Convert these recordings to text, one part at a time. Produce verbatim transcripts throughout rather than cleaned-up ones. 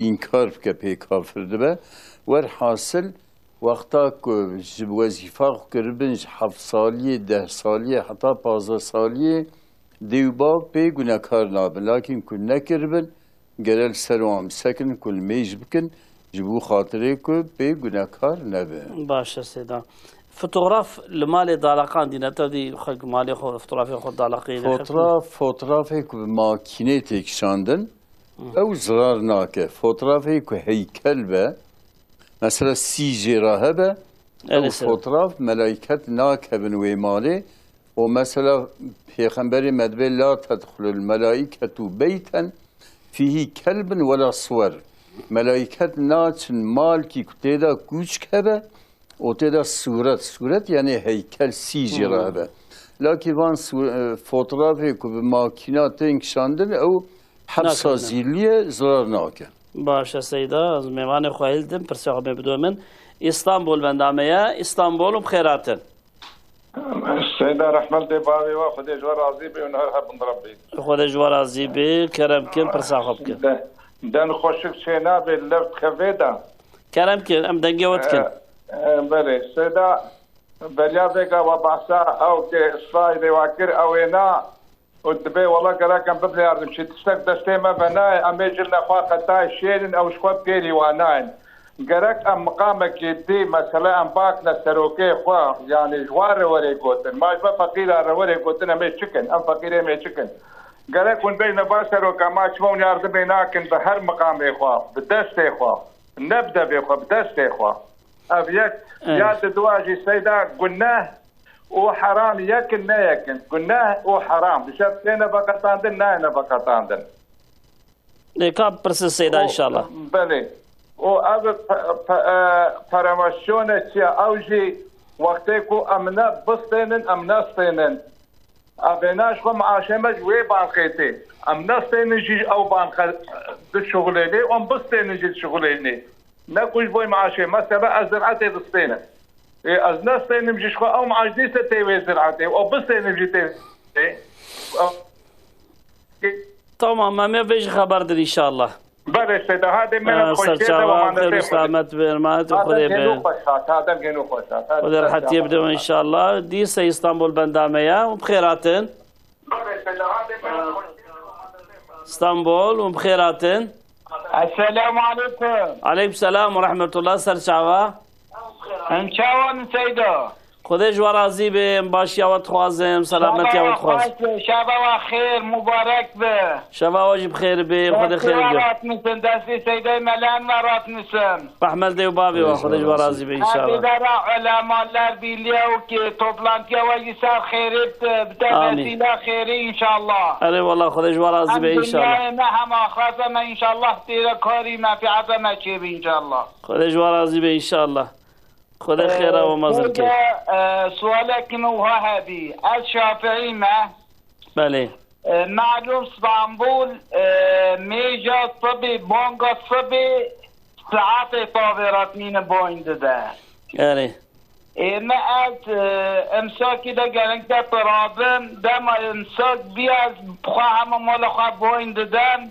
înkar bike pê kafir dibe. Werhasil, wexta ku ji wezîfa xwe kiribin, ji heft saliyê, deh saliyê heta pazdeh saliyê, dê û bav pê gunekar nabin. Lakîn ku nekiribin, gere li ser wan bisekinin ku limêj bikin, ji bo xatirê ku pê gunekar nebe. Baş e Seyda. Fotograf li malê daleqandîne, te dî xwe malê xwe, fotografê xwe daleqîne. Fotoğraf, fotoğrafê ku bi makînê tê kişandin, ew zirar nake. Fotoğrafê ku heykel be, mesela sî jê re hebe, ew fotoğraf, melaiket nakevin wê malê. O mesela Pêxemberê me dibê, "La tedxulul melaiketu beyten fîhî kelbin wela suwer." Melaiket naçin malkî ku tê de kûçk hebe, û tê de sûret, sûret, yanî heykel sî jî re hebe. Lakî van sû-, e, fotografê ku bi makîna tên kişandin, ew hepsa zîliyê zirar nake. Baş e Seyda, ez mêvanê xwe hildim, pirsê xwe bê bidomîn. Îstanbul benda me ye, Îstanbul û bi xêr hatin. Seyda, rehmet lê bavê we, Xwedê ji we razî be û her hebin Rebbî. Xwedê ji we razî be, kerem kin, pirsa xwe bikin. De-, deng xweşik çê nabe, lev dixevê de. Kerem kin, em dengê we dikin. E, e, belê. Seyda, beriya vêga we behsa ew ke Îsraîlê we kir, ew ê na û dibê, wela gerek em bibin yardimçî. Tiştek destê me ve nayê, em ê jin nexwe qetayê şêrin, ew ji xwe bi kêrî we nayên. Gerek em miqamekê dî, mesele em bakne serokê xwe, yanî ji wan re were gotin. Ma ji me feqîra re were gotin, em ê çi kin? Em feqîrê em ê çi kin? Gerek hûn bêjne, ba seroka, ma çima hûn yardimê nakin bi her miqamê xwe, bi destê xwe, ne bi devê xwe, bi destê xwe. Ev yek, ya di dua jî Seyda, guneh û heram yek in, ne yek in. Guneh û heram. Bi şert têne veqetandin, nayêne veqetandin. Lê ka pirsin Seyda înşallah. Belê. Û ev pe-, pe-, e, peremasyone çi ye? Ew jî wextê ku em ne bistênin, em nestênin. Ev ê na ji xwe miaşê me ji wê banqê tê. Em nestênin jî ew banqe dişuxulênê, em bistênin jî dişuxulênê. Ne ku ji bo maaşê me sebe ez zir'etê distênim. Ê, ez nestênim jî ji xwe ew maaş dîse tê wê zir'etê. O bistênim jî tê. Ê, Tamam, em ê vê jî xeber din înşallah. Belê Seyda, hadê me Ee, xweşiyê de serçava, xêr û selamet bin, emanet û Xwedê bin. Xwedê rehetiyê bide înşallah. Dîse Îstanbul benda me ya û bi xêr hatin. Belê Seyda, hadê me xweşiyê de. Îstanbul û bi xêr hatin. Esselamu aleykum. Aleykum selam û rehmetullah, serçava. Em çawan Seyda? Xwedê ji we razî be, em başiya we dixwazin, selametiya we dixwazin. Şeva we xweş be, şeva we xêr, mubarek be. Şeva we jî bi xêr be, Xwedê xêr bide. Destê we rast nisin, destê Seydê Melen we rast nisin. Rehmet dê û bavê we, Xwedê ji we razî be înşallah. Her dera ulemalar birliği û ki toplantıya we jî ser xêrê bite, bite vesîla xêrê înşallah. Erê wala, Xwedê ji we razî be înşallah. Hem dinyayê me hem axireta me înşallah têre karî menfiata me çêbe înşallah. Xwedê ji we razî be înşallah. Xwedê xêra we mezin ke. Seyda, e, sualekî min wiha hebî. Ez Şafiî me. Belê. E, melûm Stenbul, e, mêja sibê, banga sibê saetê tavê re tînin boyn dide. Erê. Ê me ez, e, emsakî de gerek de pirabim, dema emsak bî ez xwe hema mala xwe boyn didim.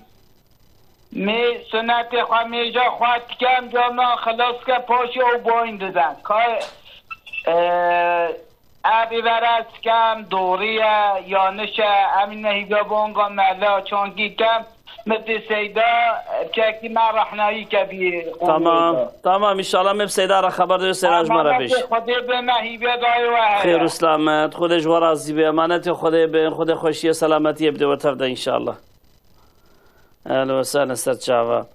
Mê sunetê xwe, mêja xwe dikem, carna xilas ke paşê ew boyn dide. Ka, e, ev îvere ez dikem, doğru ye, yanlış e, em ne hîviya bonga mela çankî kem, Miftî Seyda, çekî me rehnayî ke bî. Tamam, tamam, înşallah me bi Seyda re xeber dê, Seyda ji me re bêj. Xwedê be me hîviya dayê we heye. Xêr û selamet, Xwedê ji we razî be, emanetê Xwedê bin, Xwedê xweşiyê, selametiyê bide we tev de înşallah. Ehlen we sehlen, ser çava.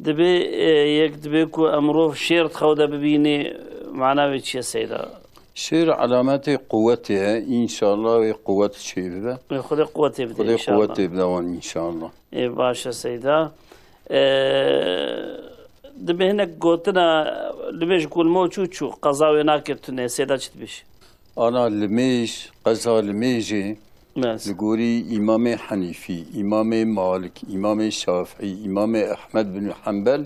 Dibê, e, yek dibê ku em mirov şêr di xew de bibînê, mana wê çi ye Seyda? Şêr alametê quwetê ye, înşallah wê quwet çê bibe. Wê Xwedê quwetê bide înşallah. Xwedê quwetê bide wan înşallah. Ê, baş e Seyda. E, dibê hinek gotina, dibê ji kulmo çû çû, qeza wê nake tune, Seyda çi dibêjî? Ana limêj, qeza limêjê, li gorî Îmamê Henîfî, Îmamê Malik, Îmamê Şafî, Îmamê Ehmed bin Hembel,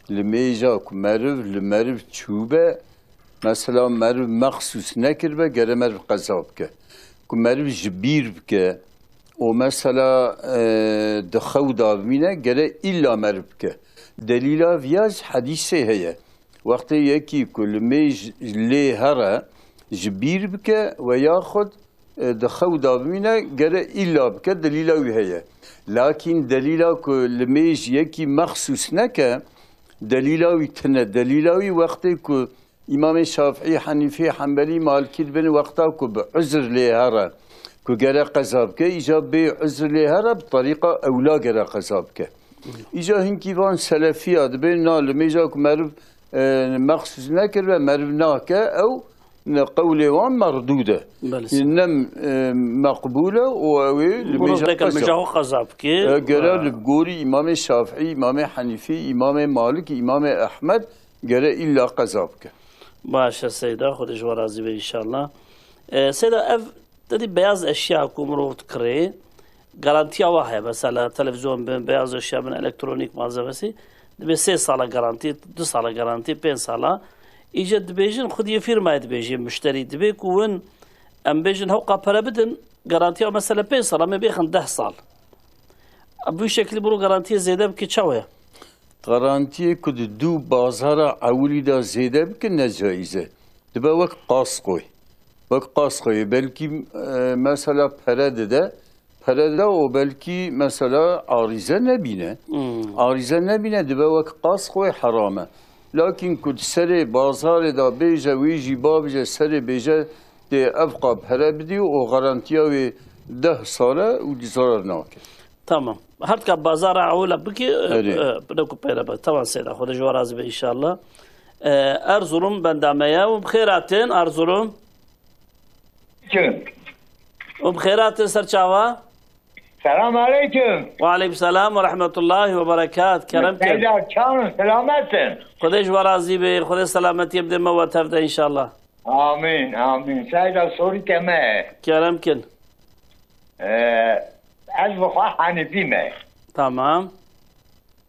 limêja ku meriv li meriv çûbe, mesela meriv mexsûs nekiribe, gere meriv qeza bike. Ku meriv ji bîr bike û mesela, e, di xew de bimîne, gere îlla meriv bike. Delîla viya ji hedîsê heye. Wextê yekî ku limêj lê here, ji bîr bike we yaxud, e, di xew de bimîne, gere îlla bike, delîla wî heye. Lakîn delîla ku limêj yekî mexsûs neke, delîla wî tune. Delîla wî wextê ku Îmamê Şafî, Henîfî, Hembelî, Malikî dibin wexta ku bi uzr lê here, ku gere qeza bike, îca bê uzr lê here bi terîqa ewla gere qeza bike. Îca hinkî van selefiya dibên na limêja ku meriv, e, mexsûs nekiribe, meriv nake, ew ne qewlê wan merdûd e. Belê. Ne, e, meqbûl e û ew ê limêja qeza. Limêja xwe qeza bike. E, gere li gorî Îmamê Şafî, Îmamê Henîfî, Îmamê Malik, Îmamê Ehmed gere îlla qeza bike. Baş e Seyda, Xwedê ji we razî be înşallah. E, Seyda, ev tedî beyaz eşya ku mirov dikirê, garantiya wa heye. Mesela televîzyon bin, beyaz eşya bin, elektronîk malzemesi. Dibê sê sala garantî, du sala garantî, pênc sala. Îce dibêjin, xwediyê fîrmayê dibêjê, muşterî. Dibê ku win, em bêjin, hewqa pere bidin, garantiya mesela pênc sala, me bêxin deh sal. Bu şekilde bunu garantiyê zêde bike çawa ye? Garantiyê ku di dû bazara ewilî de zêde bike ne caiz e. Dibe wek kaskoy. Wek kaskoyê belkî, e, mesela pere dide, pere dide û belkî mesela arîze nebîne. Hmm. Arîze nebîne dibe wek kaskoyê heram e. Lakin ku di serê bazarê de bêje wî jî babije serê bêje tê evqa pere bidî û garantiya wê deh sal e û zarar nake. Tamam. Her ka bazara ewla bikî, e, Erê. e, ne ku peyre be. Tamam Seyda, Xwedê ji we razî be înşallah. E, Erzurum benda me ye. Û bi xêr hatin Erzurum. Aleyküm. Û bi xêr hatin ser çava. Selam aleyküm. Ve aleyküm selam ve rahmetullahi ve berekat. Kerem kin. Seyda çawan, selamet in. Xwedê ji we razî be. Xwedê selametiyê bide me we tev de înşallah. Amin, amin. Seyda sorî te me. Kerem kin. Ee, ez bi xwe Hanîfî me. Tamam.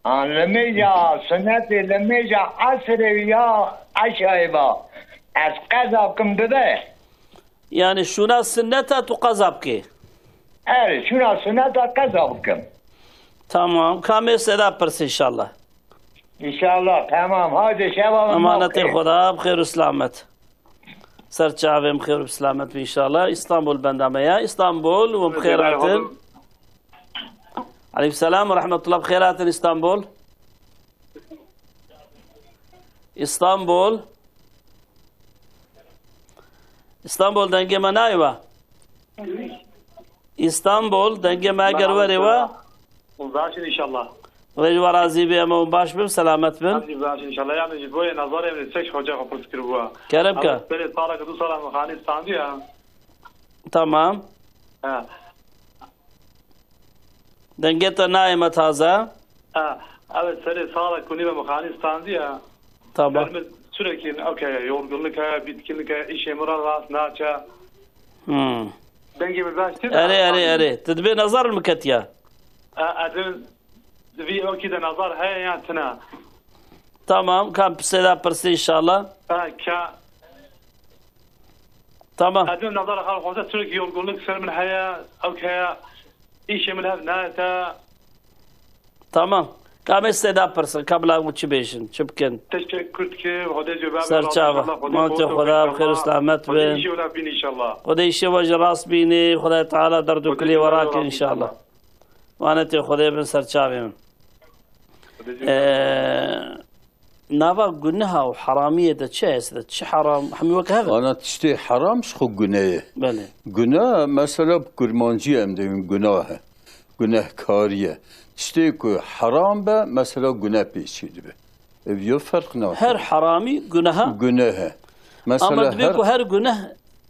An limêja sunetê, limêja esrê ya eşayê ba. Ez qeza bikim bibe. Yani şuna sunneta tu qeza bikê? Erê, şuna sunneta qeza bikim. Tamam. Kamê Seyda pirs inşallah. İnşallah, tamam. Haydi şeva. Emanetê Xweda, bi xêr û selamet. Ser çavê, bi xêr û bi selamet be înşallah. Îstanbul benda me ya. Îstanbul, we bi xêr hatin. Aleyküm selam ve rahmetullah, bi xêr hatin Îstanbul. Îstanbul. Îstanbul, dengê me nayê we. Îstanbul, dengê me eger werê we. Hûn baş in înşallah. Xwedê ji we razî be, em hûn baş bin, selamet bin. Em jî baş in înşallah. Yani ji bo yê nazarê min çek hoca xwe pirs kiribû. Kerem ke. Serê salek du sala min xanî standiye. Tamam. Ha. Dengê te nayê me taze. Ha. Evet, serê salek ku nîve min xanî standiye. Tamam. Sürekli, okey, yorgunluk heye, bitkinlik heye, işê min re rast naçe. Hmm. Dengê min baş tê de. Erê, erê, erê. Tu dibê nazar min ketiye. E, ez ê vî okî de nazar heye yan tune? Tamam, kan pisê de pirsî inşallah. E, ka. Tamam. Ez ê nazar xal xwese sürekli yorgunluk ser min heye, ew heye, işê min hev nayete. Tamam. Ka me sê da pirsin, ka bila hûn çi bêjin, çi bikin? Teşekkür dikim. Xwedê ji we Ser çava. Mantê Xweda, bi xêr û selamet bin. Xwedê îşê we rast bînî inşallah. Xwedê îşê we jî rast bînî, Xwedê Teala derdûkilî we rakin inşallah. Manetê Xwedê bin ser çavê min. Ee, nava guneha û heramiyê de çi heye de? Çi heram? Hemî wek hev e. Ana tiştê heram ji xwe gune ye. Belê. Gune, mesela bi kurmancî em dibên gunah e. Gunehkarî ye. Tiştê ku heram be, mesela gune pê çê dibe. Ev yo ferq nake. Her heramî guneha. Gunehe. Mesela Ama dibe her ku her guneh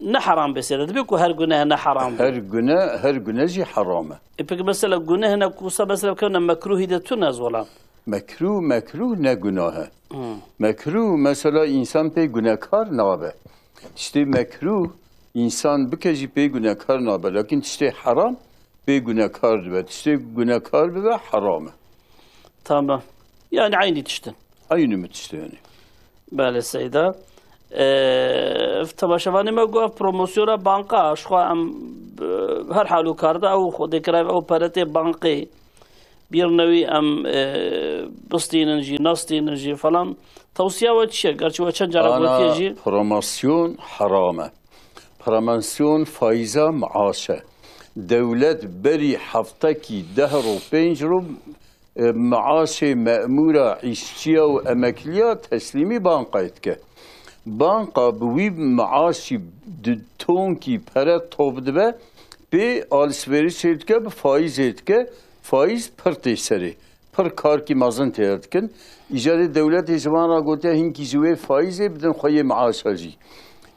ne heram be sê de. Dibe ku her guneh ne heram be. Her gune, her gune jî heram e. E peki mesela guneh ne kusa mesela kevne mekruhî de tu ne zolan. Mekruh, mekruh ne gunah e. Hmm. Mekruh mesela însan pê gunekar nabe. Tiştê mekruh însan bike jî pê gunekar nabe. Lakin tiştê heram pê gunekar dibe. Tiştê gunekar bibe heram e. Tamam. Yani aynı tiştin. Aynı mi tiştê yani? Belê Seyda. Ee, temaşevanê me got ev promosyona banka, ji xwe em, e, her hal û karda ew xwedê kira ew pere tê bankê. Bîr newî em, e, bistînin jî, nastînin jî falan. Tewsiya we çi ye? Gerçi we çend cara gotiye jî. Ana, promosyon heram e. Promosyon faiza maaş e. Dewlet berî heftekî deh ro, pênc ro, e, maaşê memûra, îşçiya û emekliya teslîmî bankayê dike. Banka bi wî maaşî di tonkî pere top dibe, pê alişverişê dike, bi faîzê dike. Faîz pir tê serê. Pir karkî mezin tê dikin. Îcarê dewletê ji van re gotiye, hinkî ji wê faîzê bidin xweyê maaşa jî.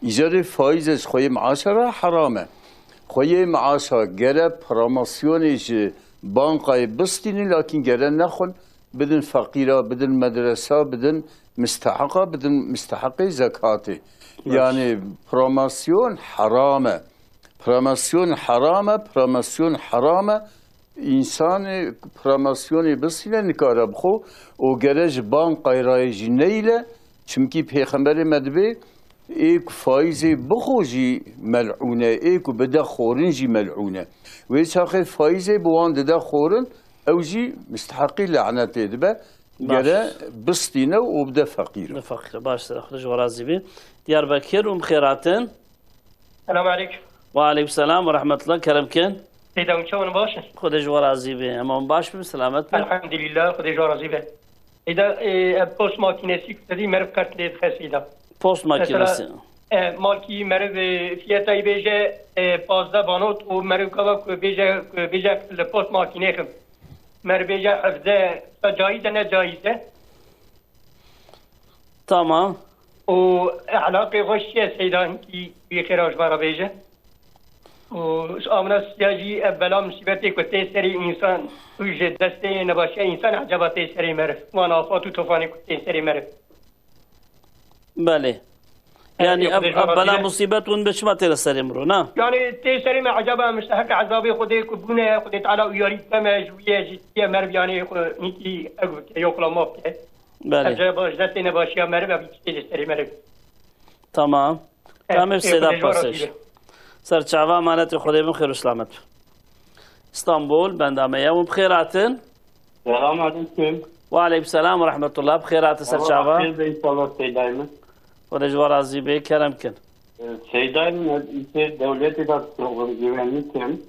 Îcarê faîze ji xweyê maaşa re heram e. Xweyê maaşa gere promosyonê ji bankayê bistînin, lakîn gere nexwin, bidin feqîra, bidin medresa, bidin misteheqa, bidin misteheqê zekatê. Baş. Yani promosyon heram e. Promosyon heram e, promosyon heram e. Însanê promosyonê bisîne nikare bixwe û gere ji bankayê re jî neyîle, çimkî Pêxemberê me dibê, ê ku faîzê bixwe jî melûn e, ê ku bide xorin jî melûn e. Wê çaxê faîzê bi wan dide xorin, ew jî misteheqî lanetê dibe, Baş. gere bistîne û bide feqîr. Bide feqîr, baş, Xwedê ji we razî be. Diyarbekir û bi xêr hatin. Selam aleyküm. Ve aleyküm selam ve rahmetullah. Kerem kin. Seyda, hûn çawan, baş in? Xwedê ji we razî be. Hema hûn baş bin, selamet bin. Elhamdülillah, Xwedê ji we razî be. Seyda, e, ev post makînesî ku te dî, meriv qert lê dixe, Seyda. Post makînesî. Mesela, e, malkî meriv, e, fiyetayî bêje, e, pazdeh banot û meriv gava ku bêje, ku bêje li post makînê xim. Meriv bêje hevdeh, caiz e, ne caiz e? Tamam. Û ehlaqê xwe şiye Seyda, hinkî wî xêra ji me re bêje. Û ji amina siya jî ev bela musîbetê ku tê serê însan û ji destê nebaşiya însan ecaba tê serê meriv. Wan afat û tofanê ku tê serê meriv. Belê. Evet, Yani yok, ev, ev bela musîbet hûn be çima tê li serê miro, na? Yani tê serê me ecaba em işte heke ezabê Xwedê ku bûne, Xwedê Teala û yarî dike me ji wî ye, ji tiye meriv yani xwe nîkî ev bike, yokla maf bike. Belê. Ecaba ji destê nebaşiya meriv ev tiştê li serê meriv. Tamam. Evet, Tamam, e, Seyda Xwedê ji we razî Paseş. be. Serçava emanetê Xwedê bin, xêr û selamet. İstanbul, benda me ya, hûn bi xêr hatin. Selam aleyküm. Ve aleyküm selam ve rahmetullah. Bi xêr hatin Allah serçava. Xêr be inşallah Seydayê min. Xwedê ji we razî be, kerem kin. E, Seydayê min, ez îşê dewletê de dişuxulim, güvenlikim.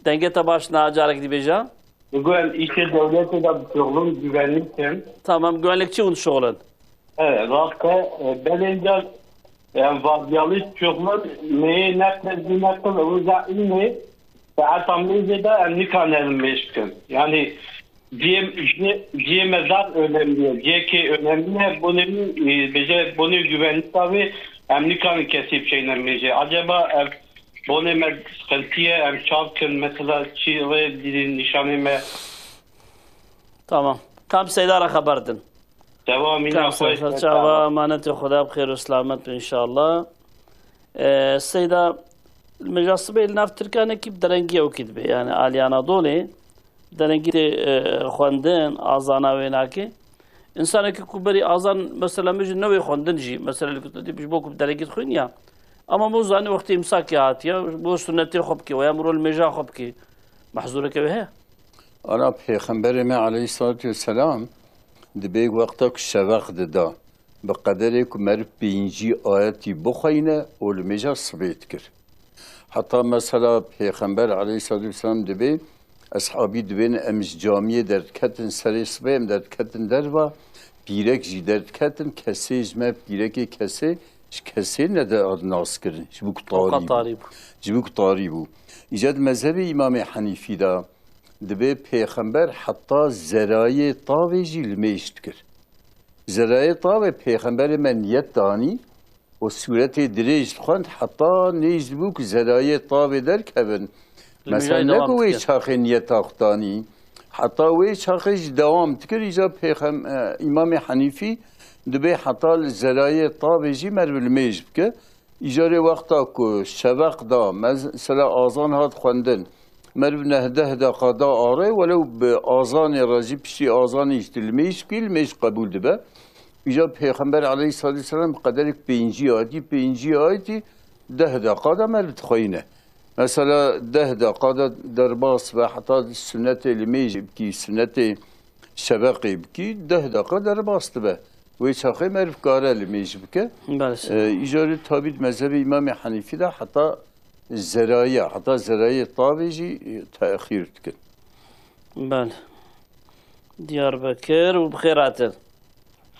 Dengê te baş na, carek dî bêje. Digo em îşê dewletê de dişuxulin, güvenlikim. Tamam, güvenlikçi hûn dişuxulin. Evet, rast e. E, belê ca em vardiyalî dişuxulin, meyê neqil, zî neqil, ew za îlmê, saeta mêzê de em nikarin mêj bikin. Yani cihê, cihê, cihê me zaf önemli ye. Cihekê önemli ye. Bonê min, e, bêje, bonê güvenlik abi, em nikarin kesî bişeyne mêjê. Acaba ev bonê me sıkıntı ye, em çav kin, mesela çi rê dînin nîşanê me? Tamam. Kam Seyda re xeber din. Devam, Kam Seyda, çawa, emanetê Xweda bi xêr û selamet be inşallah. Ee, Seyda, li mêja sibê li nav Tirkanekî bi derengî ew kî dibe. Yani alî Anadolê derengî tê, e, xwendin, azana wê nake. Însanekî ku berî azan, mesela, min jî newê xwendin jî, mesela, li ku tu dî ji bo ku bi derengî dixwîn ya. Ama min zanî wextê îmsakê hatiye, bo sunnetê xwe bike, weya miro li mêja xwe bike. Mehzûreke wê heye? Ana Pêxemberê me aleyhissalatu vesselam dibê wexta ku şeveq dida, bi qederê ku meriv pêncî ayetî bixweyne û li mêja sibê dikir. Heta mesela Pêxember aleyhissalatu vesselam dibê, eshabî dibên, em ji camiyê derdiketin, serê sibê em derdiketin derva, pîrek jî derdiketin, kesê ji me pîrekê kesê, ji kesê nede nas kirin, ji bo ku Ew qas tarî bû. tarî bû. Ji bo ku tarî bû. Îca di mezhebê Îmamê Henîfî de dibê Pêxember heta zerayê tavê jî li mêj dikir. Zerayê tavê Pêxemberê me niyet danî û sûretê dirêj dixwend, heta nêz dibû ku zerayê tavê derkevin. Li Mesela mêjayê ne dewam ku wê dike. çaxê niyeta xwe danî, heta wê çaxê jî dewam dikir. Îca Pêxem-, e, Îmamê Henîfî dibê heta li zerayê tavê jî meriv li mêj bike. Îcarê wexta ku şeveq da, mez-, mesela azan hat xwendin, meriv neh deh deqa da arê, welew bi azanê re jî, piştî azanê jî tu li mêj bikî, li mêj qebûl dibe. Îca Pêxember aleyhissalatu vesselam bi qederek pêncî ayetî, pêncî ayetî deh deqa de meriv dixweyne. Mesela deh deqa de derbas be, heta sunetê limêjê bikî, sunetê şeveqê bikî, deh deqa derbas dibe. Wê çaxê meriv kare limêj bike. Belê. E, îcarê tabî di mezhebê Îmamê Henîfî de heta zerayê, heta zerayê tavê jî, e, texîr dikin. Belê. Diyarbekir û bi xêr hatin.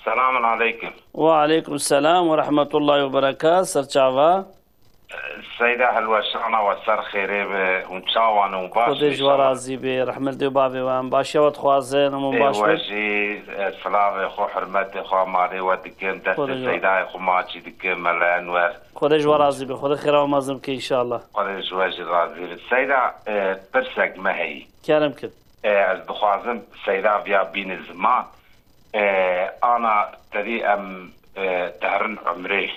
Selamun aleykum. Ve aleykum selam ve rahmetullahi ve berekat. Serçava. Seyda hilweşana we ser xêrê be, hûn çawan û baş Xwedê ji we inşallah. Razî be, rehmet dê û bavê we, em başiya we dixwazin, hemû Ê baş we be. Jî, e, silavê xwe, hurmetê xwe, malê we dikim, Xwedê destê ji we. Seydayê xwe maçî dikim, Mela Enwer. Xwedê ji we razî be, Xwedê xêra we mezin bike inşallah. Xwedê ji we jî razî be. Seyda, e, pirsek me heyî. Kerem kin. E, ez dixwazim Seyda viya bîne ziman. E, ana tevî em, e, diherin umrê.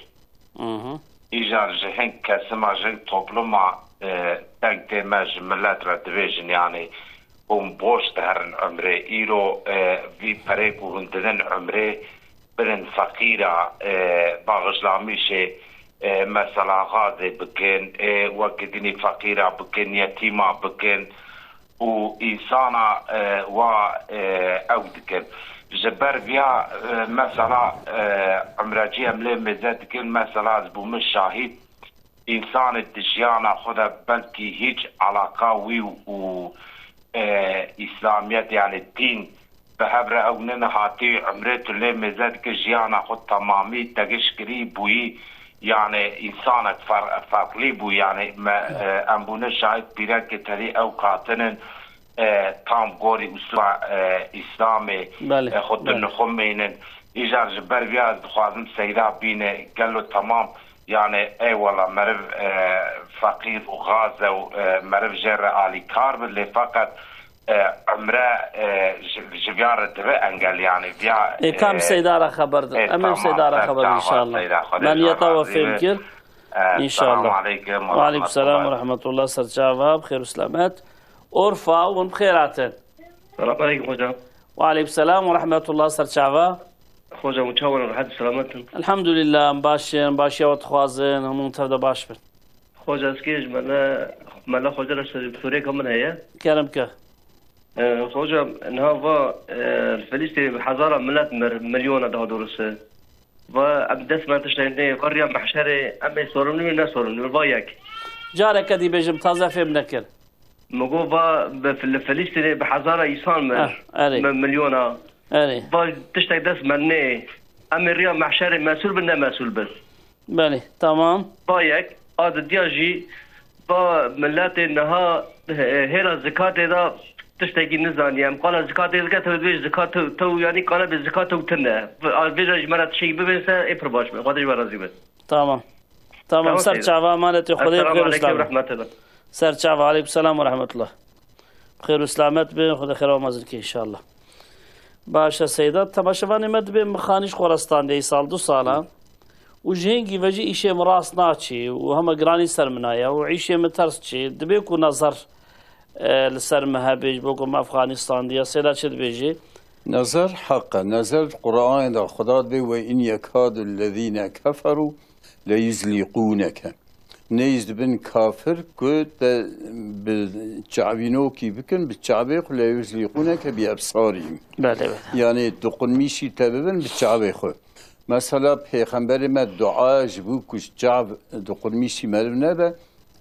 Mhm. Îcar ji hin kesima, ji hin topluma, e, deng tê me ji milet re dibêjin, yanî hûn boş diherin umrê. Îro, e, vî perê ku hûn didin umrê, bidin feqîra, e, baxişlamîşê, e, mesela xazê bikin, e, wekî dinî feqîra bikin, yetîma bikin û însana, e, wa, e, ew dikin. Ji ber viya, e, mesela, e, umrecî em lê mêze dikin, mesela ez bû min şahîd, însanê di jiyana xwe de belkî hîç alaka wî û, e, îslamiyet, yanî dîn, bi hev re ew nene hatî umrê tu lê mêze dike, jiyana xwe temamî te gişt kirî bûyî, yanî însanek fer-, ferqlî bû, yanî me, e, em bûne şahid pîrekê tevî ew katinin, e, tam gorî usula, e, Îslamê, Belê, e, xwe belê. Dinixumînin. Îcar ji ber viya ez dixwazim Seyda bîne, gelo temam, yanî, ey wela meriv, e, feqîr û xaz e û, e, meriv jê re alîkar bi, lê feqet, e, umre, e, ji, ji viya re dibe engel, yanî, viya, Ê, kam e, Seyda re xeber din. Ê, Em ê tamam, Seyda re ser xeber çava, inşallah. Seyda, Xwedê Me ji we niyeta we razî fêm be. kir. E, İnşallah. Selamu aleykum ve Ve aleykum selam ve rahmetullah. Rahmetullah, ser çava, bi xêr û selamet. Orfa, hûn bi xêr hatin. Selamu aleykum hocam. Ve aleykum selam ve rahmetullah, ser çava. Hocam, hûn çawan in, rehet û selamet in? Elhamdülillah, em baş in, başiya we dixwazin, hemû tev de baş bin. Hoca, ez kê ji Mele, Mele Hoca re ser-, sorêka min heye. Kerem ke. E, hocam, niha va, e, li Filistînê bi hezara milet mir, milyona daha doğrusu. Va em dest me tiştê nê, va riya mehşerê, em ê sorumlu ne sorumlu, va yek. Careke dî bêjim, taze fêm nekir. Min got va bi Fil-, Filistînê bi hezara însan mir. Eh, erê. Mi-, milyona. Erê. Va tiştek dest me nê. Em ê riya mehşerê mesûl bin, ne mesûl bin. Belê, tamam. Va yek, a didiya jî, va miletê niha, e, hêla zikatê de tiştekî nizaniye. Em qala zikatê dike, tev dibêj zikat tew, tew, yanî qala bê zikat tew tune. A vêca ji me re tiştekî bibênse, ê pir baş be. Xwedê ji we razî be. Tamam. Tamam, Tamam, ser Seyda. Çava, emanetê Xwedê, Esselamu xêr û aleykum selamet. Rehmetullah. Ser çava, aleykum selam ve rahmetullah. Xêr û selamet bin, Xwedê xêra we mezin ke inşallah. Baş e Seyda, temaşevanê me dibê min xanî ji xwe re standê, îsal du sala. Û ji hingî ve jî îşê min rast naçî û hema giranî ser min aye û îşê min ters çî. Dibê ku nezer, e, li ser min hebe, ji bo ku min ev xanî standiye. Seyda çi dibêjî? Nezer heq e. Nezer di Qur'anê de Xuda dibê, "Ve in yekadu lezîne keferû leyuzlîqûneke." Nêz dibin kafir ku te bi çavînokî bikin, bi çavê xwe leyuzlîqûneke bi ebsarî. Belê, belê. Yanî diqunmîşî te bibin bi çavê xwe. Mesela Pêxemberê me dua ji bo ku ji çav diqunmîşî meriv nebe,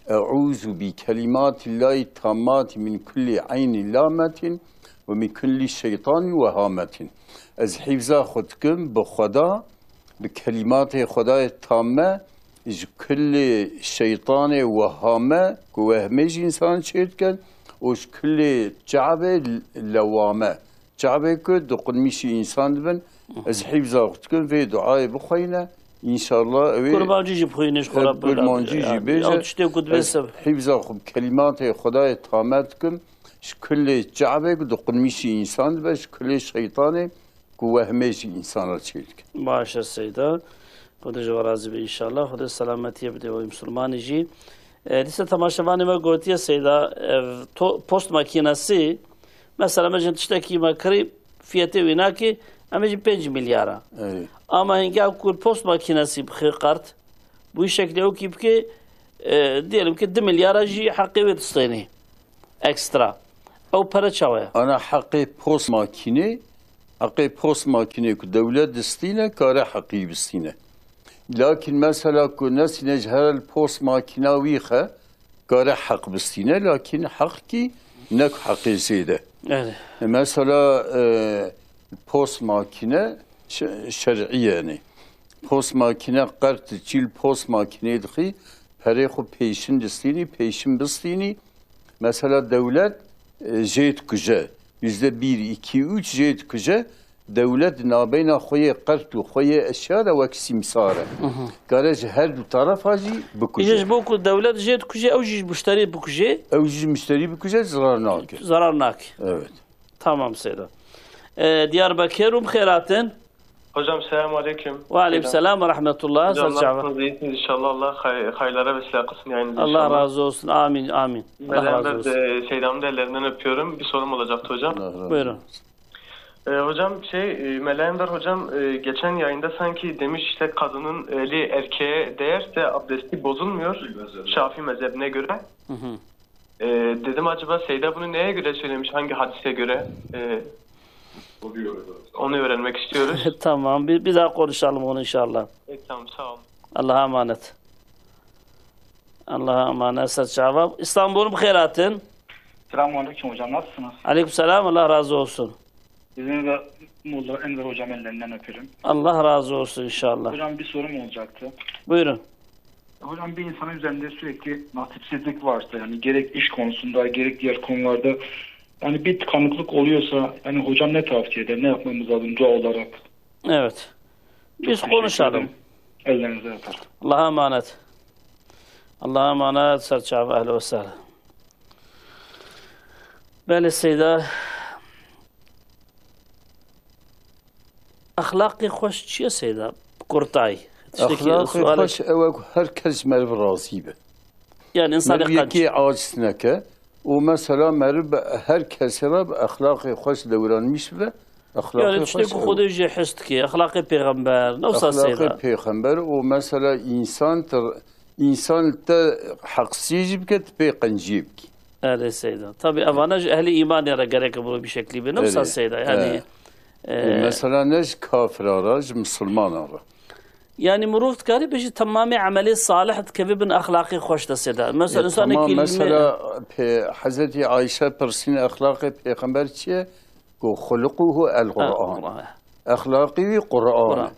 "Eûzu bi kelîmatillahî tammâtî min kullî eynî lâmetîn ve min kullî şeytanî wehametîn." Ez hîfza xwe dikim bi Xweda, bi kelîmatê Xwedayê tamme, ji kulê şeytanê wehame ku wehmê ji însan çêdikin û ji kulê çavê lewame. Çavê ku diqunmîşî însan dibin, ez hîfza xwe dikim vê duayê bixweyne, înşallah ew ê Kurmancî jî bixwîne ji xwe re, kurmancî jî bêje. Ew tiştê ku dibê Ez sev- hîfza xwe bi kelîmatê Xwedayê tamet dikim, ji kulê çavê ku diqunmîşî însan dibe, ji kulê şeytanê ku wehmê ji însan re çêdike. Baş e Seyda. Xwedê ji we razî be înşallah. Xwedê selametiyê bide we Misilmanê jî. E, dîsa temaşevanê me gotiye Seyda, ev to-, post makînesî, mesela me jin tiştekî me kirî, fiyetê wî nakê, em ê jî pênc milyar a. Erê. Ama hingê ew ku post makînesî bixê qert, bu şeklê ew kî bikê, e, diyelim ki du milyara jî heqê wê distênê. Ekstra. Ew pere çawa ye? Ana heqê post makînê, heqê post makînê ku dewlet distîne, kare heqî bistîne. Lakin mesela ku nesîne ji her post makîna wî xe, kare heq bistîne, lakin heq kî ne ku heqê zêde. Evet. E, mesela, e, post makîne şe-, şer'î ye, yanî. Post makîne qert çîl post makînê dixî, perê xwe pêşin distînî, pêşin bistînî. Mesela dewlet, e, jê dikuje. Yüzde bir, iki, üç jê dikuje. Dewlet nabeyna xwe yê qert û xwe yê eşya de wek sîmsar e. Kare ji her du terefa jî bikuje. Îje ji bo ku dewlet jê dikuje, ew jî ji muşterî bikuje. Ew jî ji muşterî bikuje, zarar nake. Zarar nake. Evet. Tamam Seyda. E, Diyarbakir, hûn bi xêr hatin. Hocam, selamun aleyküm. Ve aleyküm selam ve rahmetullah. Hocam, ser çava. Nasılsınız? İyisiniz inşallah. Allah hay-, hayırlara vesile kılsın yayınınızı Allah inşallah. Razı olsun. Amin, amin. Allah razı olsun. Ben de Seyda'nın da ellerinden öpüyorum. Bir sorum olacaktı hocam. Allah razı olsun. Buyurun. Ee, hocam, şey, e, Mela Enver hocam, e, geçen yayında sanki demiş, işte, kadının eli erkeğe değerse abdesti bozulmuyor Şafii mezhebine göre. Hı hı. Ee, dedim, acaba Seyda bunu neye göre söylemiş, hangi hadise göre? Ee, onu öğrenmek istiyoruz. Tamam, bir, bir daha konuşalım onu inşallah. E, tamam, sağ olun. Allah'a emanet. Allah'a emanet. Ser çava. İstanbul, bi xêr hatin. Selamun aleyküm hocam, nasılsınız? Aleyküm selam, Allah razı olsun. Sizin ve Molla Enver hocam ellerinden öperim. Allah razı olsun inşallah. Hocam, bir sorum olacaktı. Buyurun. Hocam, bir insanın üzerinde sürekli nasipsizlik varsa, yani gerek iş konusunda, gerek diğer konularda, yani bir tıkanıklık oluyorsa, yani hocam ne tavsiye eder, ne yapmamız lazım dua olarak? Evet. Çok teşekkür ederim. Biz konuşalım. Ellerinizden öperim. Allah'a emanet. Allah'a emanet, ser çava, ehlen ve sehlen. Belê Seyda, exlaqê xweş çi ye Seyda? Bi kurtayî. Tiştekî Exlaqê sualek xweş ew e ku her kes ji meriv razî be. Yani insanê qenc. Meriv yekê aciz neke û mesela meriv bi her kesê re bi exlaqê xweş dewranmîş bibe. Exlaqê xweş ew e. Yani tiştê ku Xwedê jê his dike, exlaqê pêxember, ne wisa Seyda? Exlaqê pêxember û mesela însan te, însan te heqsî jî bike, tu pê qenciyê bikî. Erê Seyda. Tabii evana ji ehlî îmanê re gerek e, bunu bir şeklî be. Ne wisa Seyda? Yani, e, û mesela ne ji kafira re, ji misilmana re. Yani mirov dikarî bêjî temamê emelê salih dikeve bin exlaqê xweş de Seyda. Mesela, e, insanekî tamam, mesela pê Hezretî Ayşe pirsîne exlaqê pêxember çi ye? Ku xuluquhu el Quran. Quran. Exlaqî wî Quran e. Quran.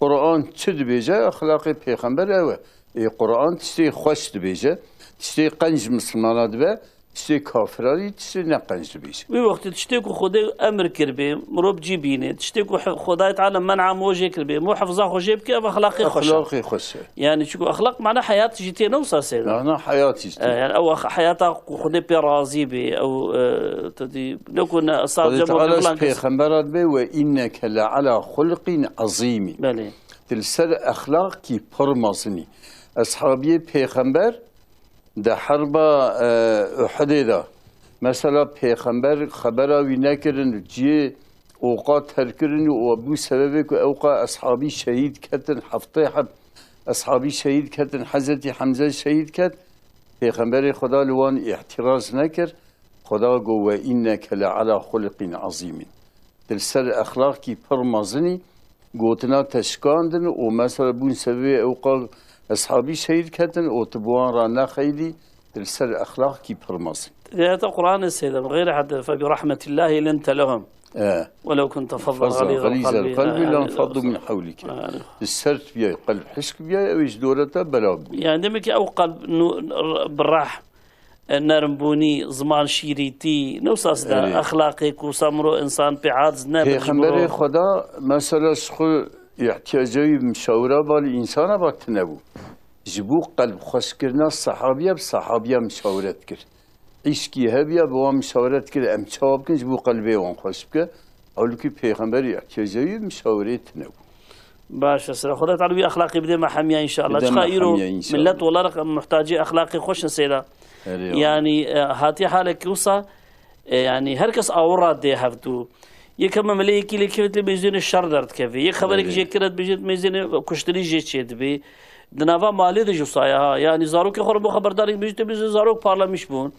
Quran çi dibêje, exlaqê pêxember ew e. Ê, Quran tiştê xweş dibêje, tiştê qenc ji misilmana dibe, tiştê kafira jî tiştê ne qenc dibêje. Wî wextê tiştê ku Xwedê emir kiribê, mirov cî bîne, tiştê ku he-, Xwedayê Teala men'a mirov jê kiribê, mirov hifza xwe jê bike, ev exlaqê xweş e. Exlaqê xweş e. Yani çiku exlaq mana heyat jî tê, ne wisa Seyda? Mana heyat jî tê. E, yani ew ex-, heyata ku Xwedê pê razî bê, ew, e, tu dî, ne ku ne, Xwedê Teala ji pêxembera dibê, "Ve inneke le ala xulqîn azîmî." Belê. Tu li ser exlaqî pir mezin î. Eshabiyê pêxember di herba, e, Uhudê de, mesela pêxember xebera wî nekirin, cihê oqa terkirin û bû sebebê ku ewqa eshabî şehîd ketin, heftê heb eshabî şehîd ketin, Hezretî Hemze şehîd ket. Pêxemberê Xweda li wan îtiraz nekir. Xweda got, "Ve inneke le ala xulqîn azîmîn." Tu li ser exlaqî pir mezin î, gotina te şikandin û mesela bûn sebebê ewqa eshabî şehîd ketin û tu bi wan re nexeydî, tu li ser exlaqî pir mezin. Di ayeta Qur'anê Seyda, "Bi xeyrî hede fe bi rahmetillahi linte lehum." E. Welew kunte fazzan xalîzel qelbî lenfaddu min hewlike. Tu sert biyay, qelb hişk biyay, ew ê ji dora te bela bû. Yani demek ki ew qelb nu-, bi rehm, e, nermbûnî, ziman şîrîtî, ne wisa Seyda, exlaqê ku wisa mirov însan pê aciz nebe ji mirov. Pêxemberê Xweda, mesela, ji xwe îhtiyacê wî bi mişawira ba li însana ba tune bû. Ji bo qelb xweşkirina sehabiya bi sehabiya mişawret kir. Îşkî hebiya bi wan mişawret kir, em çawa bikin ji bo qelbê wan xweş bike. Ewlukî pêxemberî îhtiyacê wî mişawerê tune bû. Baş e, Seyda. Xweda Teala wî exlaqî bide me hemiya înşallah. Bide me hemiya înşallah. Çiqa îro millet olarak em muhtacê exlaqê xweş in Seyda. Erê, yani, e, hatiye halek ki wisa, e, yani her kes awira dê hevdû. Yek heme meleyekî lê kevt lê mêzênê şer derdikeve. Yek xeberek jê kiret bêjêt mêzênê kuştinî jê çêdibê. Di nava malê de jî wisa ye ha. Yanî zarokê xwe re bo xeberdarek dibêjî, te bêjî zarok parlamiş bûn.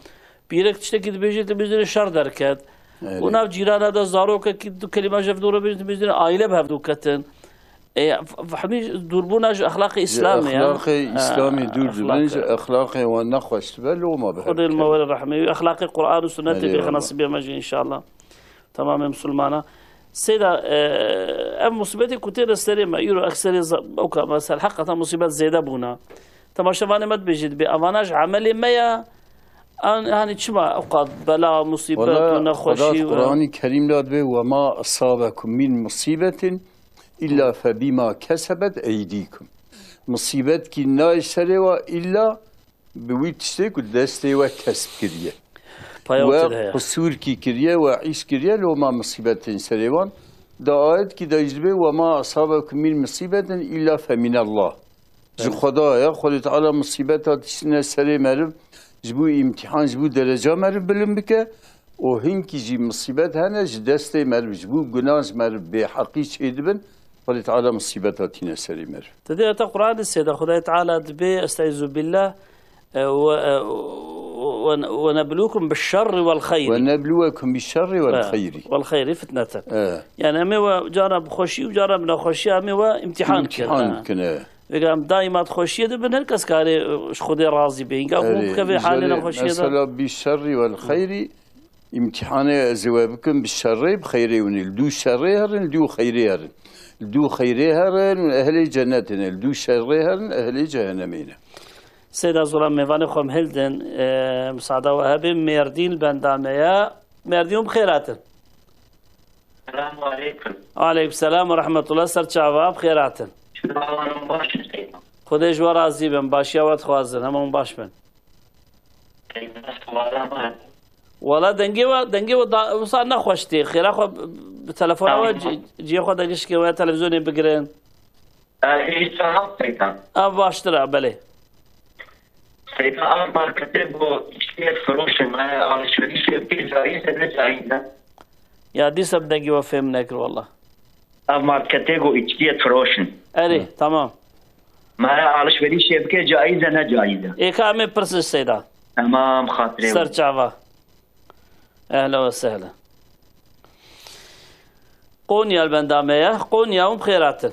Pîrek tiştekî dibêjî, te bêjî şer derket. Erê. Û nav cîrana de zarokekî du kelîma ji hevdû re bêjî, te bêjî aîle bi hevdû ketin. E, f-, fehmî dûrbûna ji exlaqê Îslamê ya. Exlaqê Îslamê dûr dibin, ji exlaqê wan nexweş dibe, loma bi hev Xwedê li me were rehmê wî. Exlaqê Qur'an û sunnetê Erê, bêxe Allah. Nesîbê me jî înşallah. Tamamê misilmana. Seyda, e, ev musîbetê ku têne serê me, îro ekserê za-, ewka me ser heqeta musîbet zêde bûna. Temaşevanê me dibêjî dibê, evana ji emelê me ya, an, hanî çima ewqat bela, musîbet Wala û nexweşî Xweda û Qur'anî Kerîm de dibê, "Ve ma asabekum min musibetin illa fe bima kesebet eydikum." Musîbetkî nayê serê we illa bi wî tiştê ku destê we kesb kiriye. Paya We wekî de heye. Qusûrkî kiriye, we îş kiriye, loma misîbetên serê wan. Da ayetkî de jî dibê, "Ve ma asabekum min musibetin illa fe minallah." Ji Evet. Xweda ye, Xwedê Teala misîbeta tiştine serê meriv, ji bo îmtîhan, ji bo dereca meriv bilind bike. Û hinkî jî misîbet hene, ji destê meriv, ji bo guna ji meriv bêheqî çêdibin. Xwedê Teala misîbeta tîne serê meriv. Te dê heta Qur'anê sêda Xwedayê Teala dibê, estaizu billah, e, we, e, we, we neblukum bi şerri wel xeyri. Ve nebluwekum bi şerri wel E, xeyri. Wel xeyri fitneten. E. Yani em ê we cara bi xweşî û cara bi nexweşî em ê we imtihan bikin. İmtihan E. bikin, e. Vêga em daîma di xweşiyê de bin, her kes karê, e, ji Xwedê razî be. Hînga ku Erê, bikeve halê îcarê nexweşiyê de. Mesela bi şerri wel xeyri, îmtihanê ez ê we bikim bi şerê, bi xeyrê winê. Li dû şerê herin, li dû xeyrê herin. Li dû xeyrê herin, ehlê cenetê ne. Li dû şerê herin, ehlê cehennemê ne. Seyda Zoran mêvanê xwe em hildin, e, musada we hebe, Mêrdîn li benda me ye. Mêrdîn hûn bi xêr hatin. Selamu aleykum. Aleykum selam ve rahmetullah. Ser çava, bi xêr hatin. Çawan baş in Seyda. Xwedê ji we razî bin, başiya we dixwazin, hemû hûn baş bin. Seyda, suala me. Wala dengê we, dengê we da, wisa nexweş tê. Xêra xwe bi, bi telefona we Tamam. ci-, cihê xwe de gişkê we televîzyonê bigirin. E, îsa hat Seyda. Ev baştir e, belê. Seyda, ev marketê ku içkiyê firoşin, me alışverişê bikê caiz e, ne caiz e? Ya dîsa bi dengê we fêm nekir wala. Ev marketê ku içkiyê firoşin. Erê, Hı. tamam. Me alışverişê bikê caiz e, ne caiz e? Ê ka em ê pirsin Seyda. Tamam, xatirê Ser wî. çava. Ehlen ve sehlen. Konya li benda me ye. Konya hûn bi xêr hatin.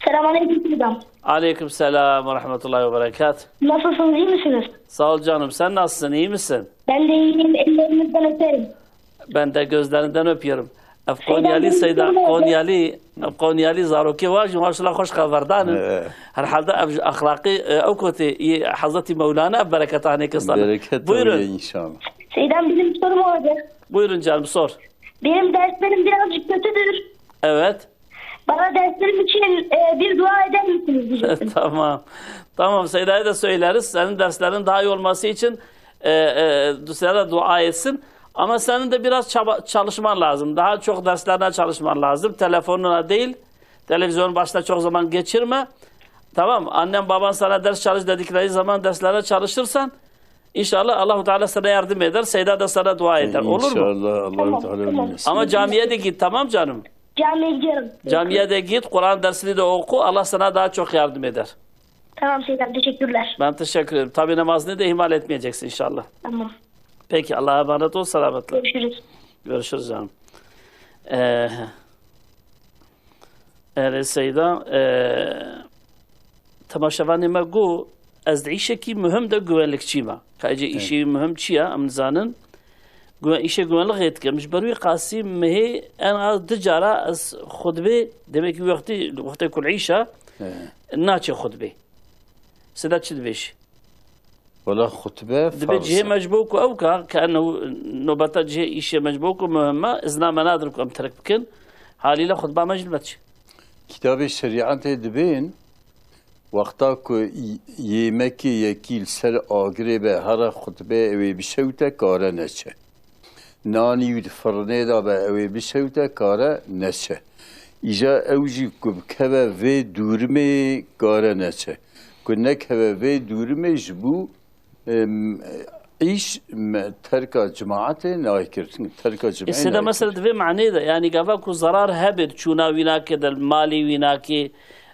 Selamünaleyküm Seyda. Aleyküm selam ve rahmetullahi ve berekat. Nasılsınız, iyi misiniz? Sağ ol canım. Sen nasılsın? İyi misin? Ben de iyiyim. Ellerinizden öperim. Ben de gözlerinden öpüyorum. Ev Seyda, Konyalî benim Seyda, sorum olacak. Konyalî, ev Konyalî zarokê wa jî maşallah xweş xeberdan in. Ee. Herhalde ev ji exlaqî, e, ew kotê yê Hezretî Mewlana ev bereketa hanê kestan. Bereket Buyurun. tabii inşallah. Seyda, benim sorum olacak. Buyurun canım, sor. Benim derslerim birazcık kötüdür. Evet. Bana derslerim için, e, bir dua eder misiniz diyecektim. Tamam. Tamam, Seyda'ya da söyleriz. Senin derslerin daha iyi olması için, e, e, sana da dua etsin. Ama senin de biraz çaba, çalışman lazım. Daha çok derslerine çalışman lazım. Telefonuna değil, televizyonun başında çok zaman geçirme. Tamam, annen baban sana ders çalış dedikleri zaman derslerine çalışırsan, inşallah Allahu Teala sana yardım eder. Seyda da sana dua eder. Olur mu? İnşallah Allahu Tamam, Teala tamam. bilmesin. Ama camiye de git, tamam canım? Camiye gidiyorum. Camiye de git, Kur'an dersini de oku. Allah sana daha çok yardım eder. Tamam Seyda, teşekkürler. Ben teşekkür ederim. Tabii namazını da ihmal etmeyeceksin inşallah. Tamam. Peki, Allah'a emanet ol, selametle. Görüşürüz. Görüşürüz canım. Ee, Erê Seyda, e, temaşevanê me got, ez di îşekî muhim de guvenlikçî me. Ka êcê Evet. îşê muhim çi ye, em nizanin. Guven-, îşê guvenlixê dikim. Ji ber wî qasî mehê en az du cara ez xutbê, demek ki wextî, wextê ku li îşa, Evet. naçe xutbê. Seyda çi dibêjî? Wala xutbe Dibe farz cihê e. me ji bo ku ew ka, ke ennehu nobeta cihê îşê me ji bo ku muhim e, izna me nadin ku em terk bikin. Halîle xutba me jî dibe çi? Kitabê şerîetê dibên, wexta ku y-, yêmekê yekî li ser agirê be, here xutbe ew ê bişewte, kare neçe. Nanî wî di firnê de be, ew ê bişewte, kare neçe. Îja ew jî ku bikeve vê dûrimê, kare neçe. Ku nekeve vê dûrimê ji bo, em, îş, me, terka cemaetê nayê kir. Terka cemaetê Ê Seyda nayê mesela kir. di vê manê de, yanî gava ku zarar hebe, çûna wî nake, de malê wî nake,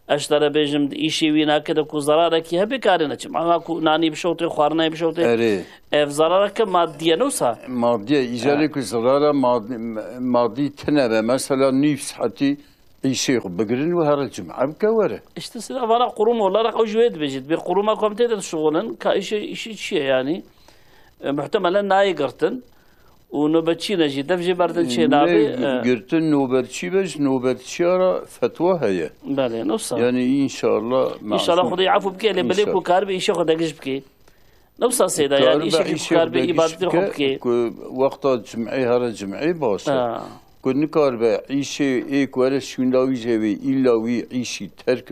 Ez ji te re bêjim, di îşê wî nake de ku zerarekî hebe karê neçim. Ama ku nanî bişewtê, xwarinayê bişewtê, Erê. ev zerareke madî ye, ne wisa? Madî ye. Îcarê Ha. ku zerara madî, madî tine be, mesela nîv saetî îşê xwe bigirin û here cim'e bike were. İşte size vana kurum olarak ew ji wê dibêjit. Bir kuruma komite de dişuxulin. Ka îşê, îşê çi ye yani? E, muhtemelen nayê girtin. Û nobetçî ne jî, dev jê berdin çê Ne nabê, e. girtin nobetçî be, ji nobetçiya re fetwa heye. Belê, ne wisa. Yani inşallah İnşallah masum. Xwedê efû bike, lê belê İnşallah. ku karibe îşê xwe degiş bike. Ne wisa Seyda, yani Karibe îşekî ku îşê karibe degiş îbadetê xwe bike, bike. ku wexta cim'ê here cim'ê baş e. Ha. Ku nikaribe îşê ê ku were şûnda wî jê wê, îlla wî îşî terk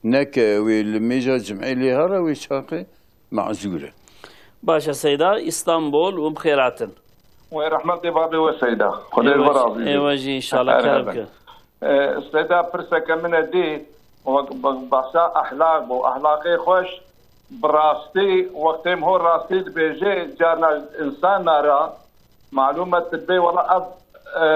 neke, wê li mêja cim'ê lê here wê çaxê mazûr e. Baş e Seyda, Îstanbul û bi xêr hatin. Wê rehmetê babê we Seyda. Xwedê Ê we jî, razî ê be. we jî inşallah Her kerem hebe. ke. Ee, Seyda, pirseke min e dî, wek be-, behsa ehlaq bû. Ehlaqê xweş, bi rastî, wextê min ho rastî dibêje, carna insana re, malûm e, tu dibê, wela ev, e,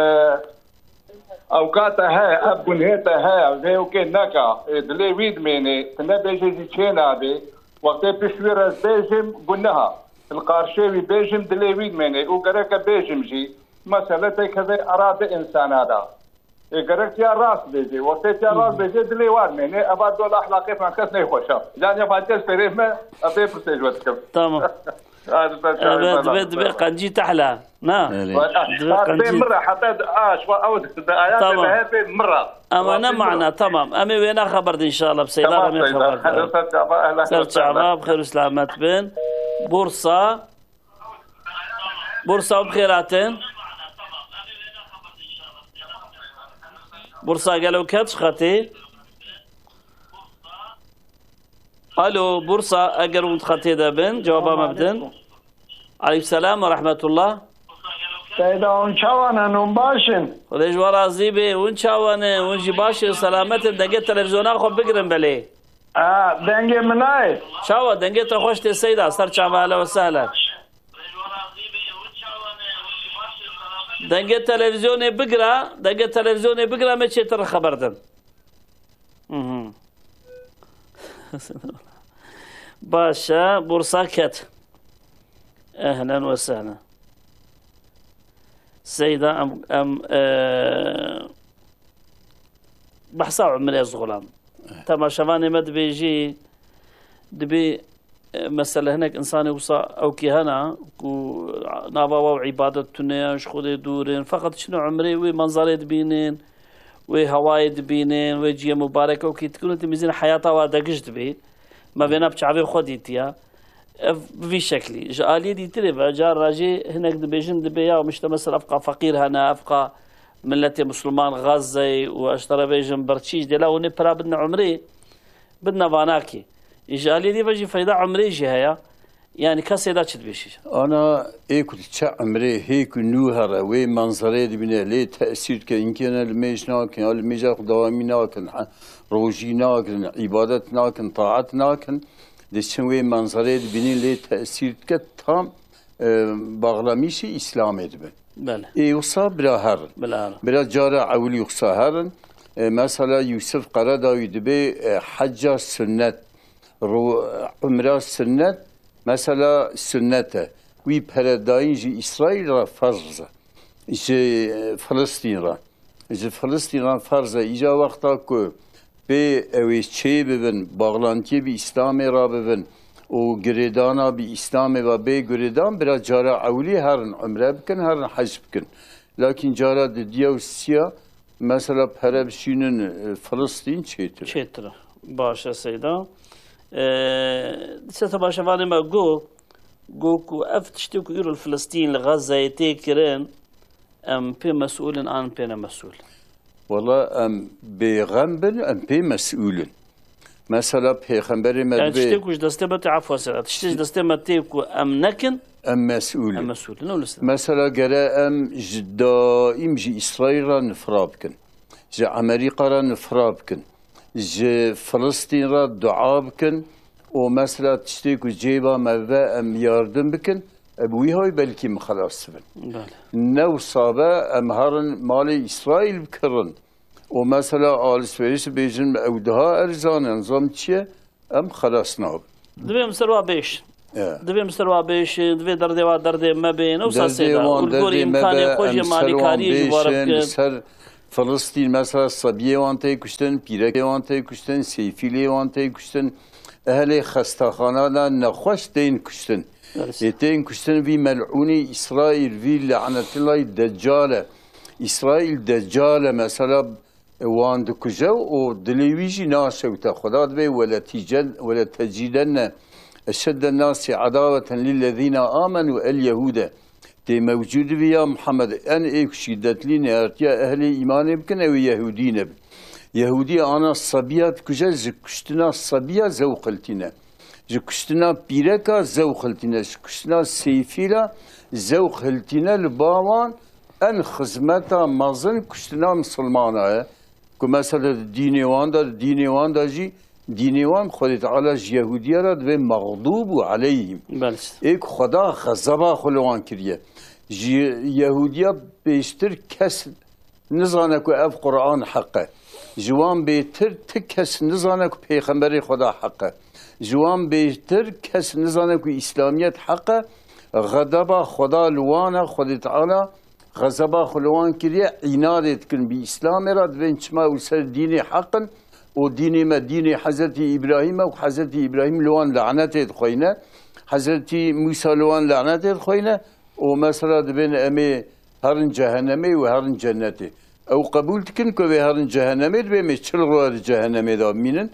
ewka te heye, ev gunhê te heye, vê ewkê neka, ê, dilê wî dimêne, tu nebêjê jî çê nabê. Wextê pişt wî re ez bêjim, guneha. Li qarşê wî bêjim, dilê wî dimêne. Û gereke bêjim jî, mesele têkeve era di insana de. Ê, gerek ya rast bêjê. Wextê ya rast bêjê, dilê wan mêne. Eva dol ehlaqê fan kes neyxweşa. Yani ya kes perê me, ez ê pirsê ji we dikim. Tamam. Hadi sen Evet, çağır, dibê, ben dibê ben. qencî tehla. Na? Öyle. Dibê Bak, bê qencî. mira, hatta aş, wa ew de ayat Tamam. de hep mira. Ama ne Rabbim mana, mira. tamam. Em ê wêna xeber de inşallah. Seyda Tamam, em ê Seyda. xeber de. Hadi sen çağır, ehlen Ser ve sehlen. çava, bi xêr û selamet bin. Bursa. Bursa bi xêr hatin. Bursa gelo ket ji xetê. Alo, Bursa, eger hûn di xetê de bin, cewaba me bidin. Aleyküm selam ve rahmetullah. Seyda, hûn çawa ne, hûn baş in? Xwedê ji we razî be, hûn çawa ne, hûn jî baş in, selamet in, dengê televîzyona xwe bigirin belê. Ha, dengê min nayê. Çawa, dengê te xweş tê Seyda, ser çava, ehlen ve sehlen. Dengê televîzyonê bigira, dengê televîzyonê bigira, me çêtir xeber din. Mhm. Baş e, Bursa ket. Ehlen ve sehlen. Seyda em, em, e, behsa umrê ez xulam. Temaşevanê me dibêjî, dibê, e, mesele hinek insanê wisa ewkî hene ku nava wa û îbadet tune ye, ji Xwedê dûr in. Feqet çin û umrê wê manzarê dibînin, wê hewayê dibînin, wê ciyê mubarek ewkî dikin û timîzîn heyata wa degiş dibê. Me vêna bi çavê xwe dîtiye. Ev bi vî şeklî. Ji aliyê dîtirê ve, cara jî hinek dibêjin, dibê ya, işte, mesela, evqa feqîr hene, evqa milletê Müslüman Gazze û, ez te re bêjim, birçî, ji dêla hûnê pira bidine umrê, bidine vanakê. Ji aliyê dî ve jî feyda umrê jî heye. Yani kesê de çi dibêjî? Ana ê ku diçe umrê, hê ku nû here, wê manzerê dibîne, lê tesîr dike, inkê ne li mêj nakin, ya li mêja xwe dewamî nakin, he, rojî nakin, îbadet nakin, taat nakin, diçin wê manzerê dibînin, lê tesîr dike, tam, e, bağlamîşî Îslamê dibin. Belê. Ê wisa bira herin. Bila herin. Bira cara ewilî wisa herin. E, mesela Yusuf Karadawî dibê, e, hecca sunnet, ro-, umra sunnet, mesela sunnet e. Wî peredayîn ji Îsraîl re ferz e. Ji, e, Filistîn re. Ji Filistîn re ferz e. Îca wexta ku bê ew ê çê bibin, baxlantiyê bi Îslamê re bibin û girêdana bi Îslamê ve bê girêdan, bira cara ewilî herin umre bikin, herin hec bikin. Lakin cara didiya û siya, mesela pere bişînin, e, Filistîn çêtir e. Çêtir e. Baş e Seyda. E, dîsa temaşevanê me got, got ku ev tiştê ku îro li Filistîn, li Gazeyê tê kirin, em pê mesûl in an pê ne mesûl? Wala em bêxem bin, em pê mesûl in. Mesela Pêxemberê me Yani dibê tiştê ku ji destê me tê, efwa sera, tiştê ji destê me tê ku em nekin, em mesûl in. Em mesûl in, öyle. Mesela gere em ji daîm ji Îsraîl re nifra bikin. Ji Amerîka re nifra bikin. Ji Filistîn re dua bikin. Û mesela tiştê ku cêba me ve em yardim bikin, e, bi wî hay belkî em xelas bibin. Belê. Ne wisa be em herin malê Îsraîl bikirin. û mesela alışveriş bêjin ew daha erzan e, nizam çi ye, em xelas nabin. Divê em ser wa bêjin. E. Divê em ser wa bêjin, divê derdê wa derdê me bên, ew Derdê sasê de. wan Û li gorî derdê me imkanê be, xwe jî em ser wan malîkarî jî were bêjin, bikin. Ser Filistîn mesela sebiyê wan tê kuştin, pîrekê wan tê kuştin, seyfîlê wan tê kuştin. Ehlê xestaxana de nexweş tên kuştin. Maalesef. Ê tên kuştin vî mel'ûnî Îsraîl, vî lanetillahî Deccal e. Îsraîl Deccal e mesela, wan dikuje û dilê wî jî naşewte. Xweda dibê, "Wele tîcen-, wele tecidenne eşedden nasi edaweten lillezîne amenu el Yehûde." Tê mewcûd bî ya Muhammed, en ê ku şîdetlî nêhartiya ehlê îmanê bikin, ew ê Yehûdî nebin. Yehûdî ana sebiya dikuje, ji kuştina sebiya zewq hiltîne. Ji kuştina pîreka zewq hiltîne. Ji kuştina seyfîla zewq hiltîne li ba wan en xizmeta mezin kuştina misilmana ye. Ku mesela di dînê wan de, di dînê wan de jî, dînê wan Xwedê Teala ji Yehûdiya re divê mexdûb û aleyhîm. Belê. Ê ku Xweda xezeba xwe li wan kiriye. Ji Yehûdiya pêştir kes nizane ku ev Quran heq e. Ji wan bêtir ti kes nizane ku Pêxemberê Xweda heq e. Ji wan bêtir kes nizane ku Îslamiyet heq e. Xedeba Xweda li wan e, Xwedê Teala xezeba xwe li wan kiriye, înadê dikin bi Îslamê re, divên çima ew ser dînê heq in û dînê me dînê Hezretî Îbrahîm e û Hezretî Îbrahîm li wan lanetê dixweyne, Hezretî Mûsa li wan lanetê dixweyne û mesela dibên em ê herin cehennemê û herin cennetê. Ew qebûl dikin ku em ê herin cehennemê, divê em ê çil roje di cehennemê de bimînin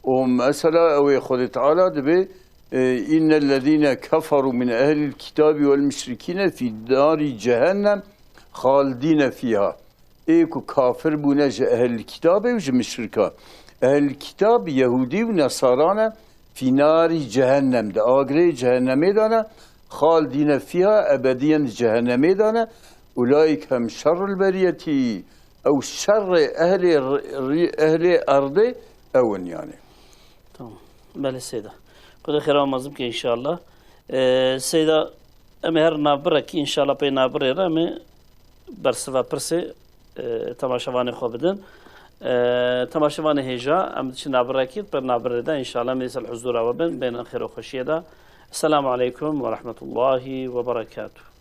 û mesela ew ê Xwedê Teala dibê, e, "Innellezîne keferû min ehlil kitâbî wel müşrikîne fî nârî cehennem halidîne fîha." Ê ku kafir bûne ji ehlil kitabê û ji müşrika. Ehlil kitab Yehûdî û Nesara ne, fî nârî cehennem, di agirê cehennemê de ne, halidîne fîha, ebediyen di cehennemê de ne. Ulaîke hum şerrul beriyetî, ew şerrê ehlê r-, r-, ehlê erdê ew in yani. Tamam. Belê Seyda. Xwedê xêra mezin bike înşallah. Ee, Seyda, em ê her navbirekî înşallah pey navbirê re em ê bersiva pirsê, e, temaşevanê xwe bidin. E, temaşevanê hêja, em diçin navbirekî, per navbirê de înşallah em ê ser huzura we bin, bên xêr û xweşiyê de. Esselamu aleykum ve rahmetullahi ve berekatuh.